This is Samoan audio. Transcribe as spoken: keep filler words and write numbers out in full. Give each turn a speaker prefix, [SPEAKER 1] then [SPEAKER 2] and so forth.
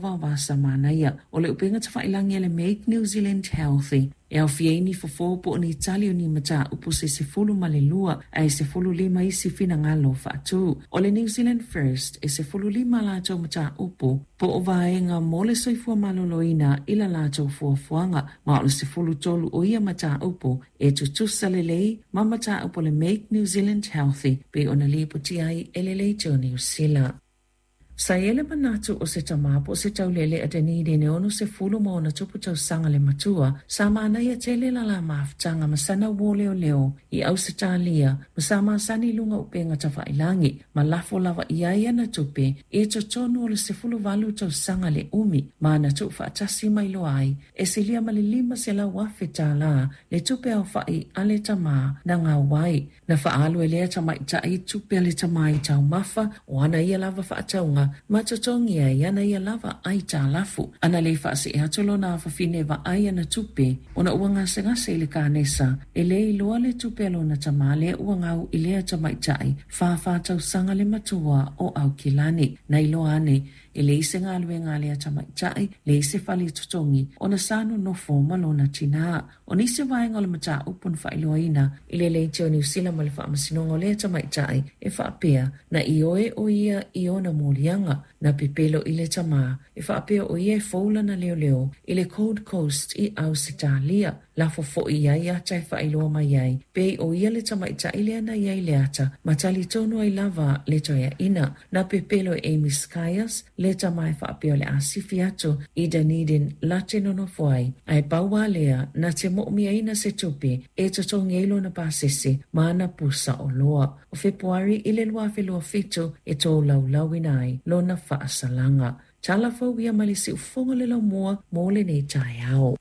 [SPEAKER 1] Vaovasa manaia o le upega tafailagi a le Make New Zealand Healthy e aofia ai ni fofo po o ni tali o ni mataupu se sefulu ma le lua ae sefulu lima isi finagalo faatu. O le New Zealand First e sefulu lima latou mataupu po o vaega mo le soifua maloloina i la latou fuafuaga, ma o le sefulu tolu o ia mataupu e tutusa lelei ma mataupu o le Make New Zealand Healthy pei ona lipotia ai e le Leitio Niu Sila. Sa i ai le manatu o se tama po o se taulele a Dunedin e ono sefulu ma ona tupu tausaga le matua, sa manaia tele la la mafutaga ma sana uō leoleo i Ausetalia ma sa masani i luga o upega tafailagi ma lafo lava i ai ana tupe i totonu o le sefulu valu tausaga le umi ma na tuufaatasi mai loa ai e silia ma le lima selau afe tālā le tupe aofa'i a le tamā na gau ai. Na faaalu e lea tamaitai tupe a le tamā i taumafa o ana ia lava faatauga ma totogi ai ana ia lava aitalafu. Ana le faasee atu lona afafine e vaai ana tupe ona ua gasegase i le kanesa e lē iloa le tupe a lona tamā lea ua gau i lea tamaitai fāfā tausaga le matua o Aukilani. Na iloa ane e leai se galuega a lea tamaitai, leai se fale totogi ona sa nonofo ma lona tinā. O nisi vaega o le mataupu na faailoaina i le Leitio Niu Sila ma le Faamasinoga o lea tamaitai e faapea na ioe o ia i ona moliaga na pepelo i le tamā e faapea o ia e fou lana leoleo i le Gold Coast i Ausetalia. Lafo foi i ai ata e faailoa mai ai pei o ia le tamaitai lea na i ai le ata ma talitonu ai lava le toeaina. Na pepelo e Amy Skyers le tamā e faapea o le a sifi atu i Dunedin late nonofo ai ae pau lava lea na te moomiaina se tupe e totogi ai lona pasese ma ana pusa oloa. O Fepuari i le lua afe lua fitu e tolaulauina ai lona faasalaga. Tala fou ia mai le siufofoga o le laumua mo lenei taeao.